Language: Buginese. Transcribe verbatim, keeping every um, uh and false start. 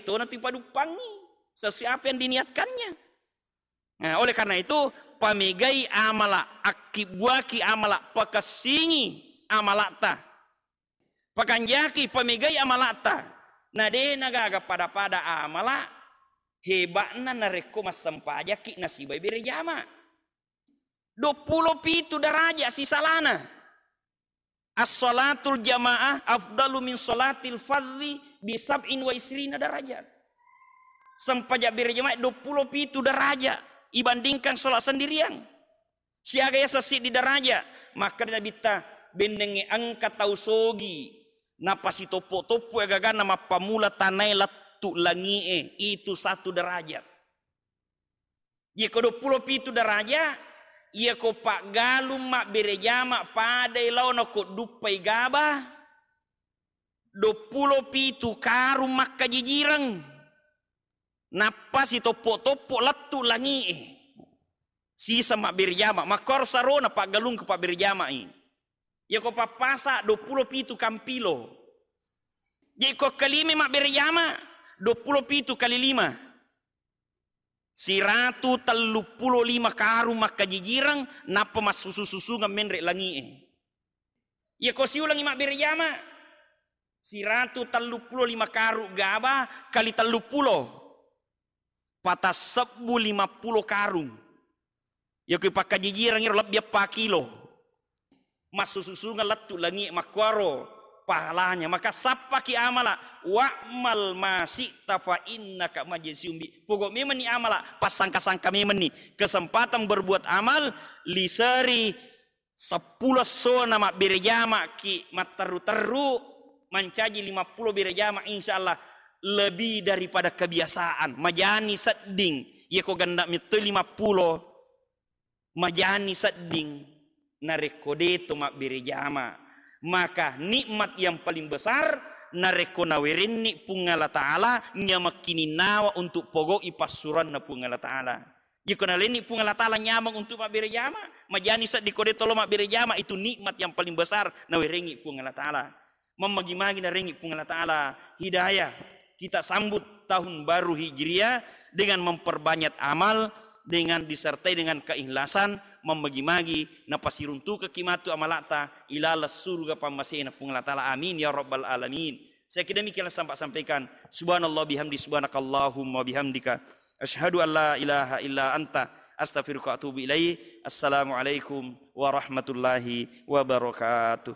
tona tu ipaduppangi sesuai apa yang diniatkannya. Nah, oleh karena itu, pamegai amala, akkibbuaki amala, pakessingi amalata. Pakanjaki, pamegai amalata. Na de nagaga pada-pada amala heba'na narekko massempajakki nasibai bere jama. Duappulo pitu daraja sisalana. As-salatul jamaah afdalu min salatil fardhi bi sab'in wa isrina darajat. Sempajang bere jamaah duappulo pitu daraja ibandingkan salat sendirian. Siaga yaseng siddi daraja. Makkeda Nabitta, bennengnge engka tau sogi napasitoppo-toppo agaganna mappamula tanae lettu langi'e, itu satu derajat. Iyako duappulo pitu daraja, iyako paggalung mabbere jama padai laona ko duppai gaba, duappulo pitu karung makkajijireng, nappa sitoppo-toppo lettu langi'e. Sisa mabbere jama, makkoro sarona paggalung ko pabbere jamai. Iyako pappasa duappulo pitu kampilo. Jeko kalime mabbere jama, duappulo pitu kali lima. Siratu telluppulo lima karung makkajijireng, nappa massusu-susungeng menre langi'e. Iyako siulengi mabbere jama, siratu telluppulo lima karung gaba kali telluppulo, patassebbu limappulo karung. Iyako ipakkajijireng iro lebbi eppa kilo. Massusu-susungeng lettu langi'e makkuaro pahalanya. Maka sappaki amala, wa'mal ma syi'ta fa innaka majziyun bi. Pogau memenni amala, passangka-sangka memenni. Kesempatan berbuat amal, liseri seppulo essona mabbere jamaki matterru-terru, mancaji limappulo bere jama, insya Allah lebih daripada kebiasaan. Majani sedding, iyako ganda mettoi limappulo, majani sedding narekko deto mabbere jama. Maka nikmat yang paling besar narekko nawerenni Puang Allah Ta'ala nyamekkininnawa untuk pogau'i passuranna Puang Allah Ta'ala. Iyako nalenni Puang Allah Ta'ala nyameng untuk mabbere jama, majani sedding ko deto lo mabbere jama, itu nikmat yang paling besar nawerengi Puang Allah Ta'ala. Mammagi-magi narengi Puang Allah Ta'ala hidayah. Kita sambut tahun baru Hijriah dengan memperbanyak amal, dengan disertai dengan keikhlasan, mammagi-magi napasiruntukekki matu amalata ilaleng surga pammasena Puang Allah Ta'ala. Amin ya rabbal alamin. Saya kira demikian yang saya sampaikan. Subhanallah bihamdi, subhanakallahumma bihamdika. Asyhadu an la ilaha illa anta, astaghfiruka wa atubu ilaik. Assalamualaikum warahmatullahi wabarakatuh.